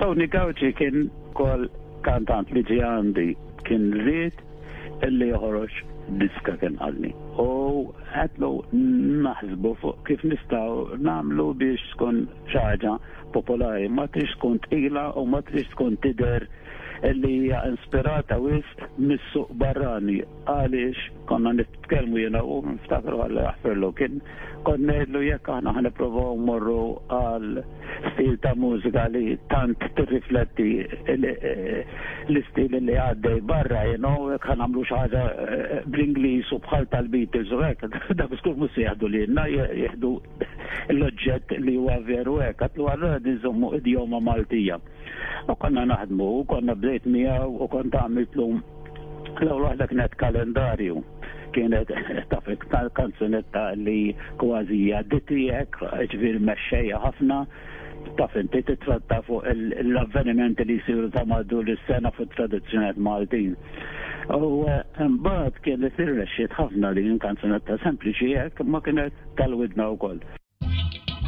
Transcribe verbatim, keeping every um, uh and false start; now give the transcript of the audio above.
Tony Gauci kien kol kantant li ġie għandi, kien ried illi joħroġ diska, kien qalli. U għedtlu naħsbu fuq kif nistgħu nagħmlu biex tkun xi ħaġa popolari, ma trix tkun tqila u ma trix tkun tidher illi hija inspirata wisq mis-suq barrani, għaliex konna nitkellmu jiena u niftakru, Alla jaħfirlu, kien kont ngħidlu jekk aħna ħa nippruvaw mmorru għal stil ta' mużika li tant tirrifletti l-istil li għaddej barra, you know, jekk ħa nagħmlu xi ħaġa eh, bl-Ingliż u bħal tal-Beatles u hekk, dak żgur mhux se jieħdu lilna, jieħdu l-oġġett li huwa veru hekk, għedtlu allura nżommu idjoma Maltija. U konna naħdmu, u konna bdejt miegħu u kont għamiltlu l-ewwel waħda, kienet Kalendarju, kienet taf kanzunetta li kważi għadditijek, ġifieri mexxejja ħafna, taf inti, titratta fuq l-avvenimenti li jsiru ta' madwar is-sena fuq tradizzjonijiet Maltin. U mbagħad kienet irnexxiet ħafna li kanzunetta sempliċi hekk ma kienet tal-widna wkoll.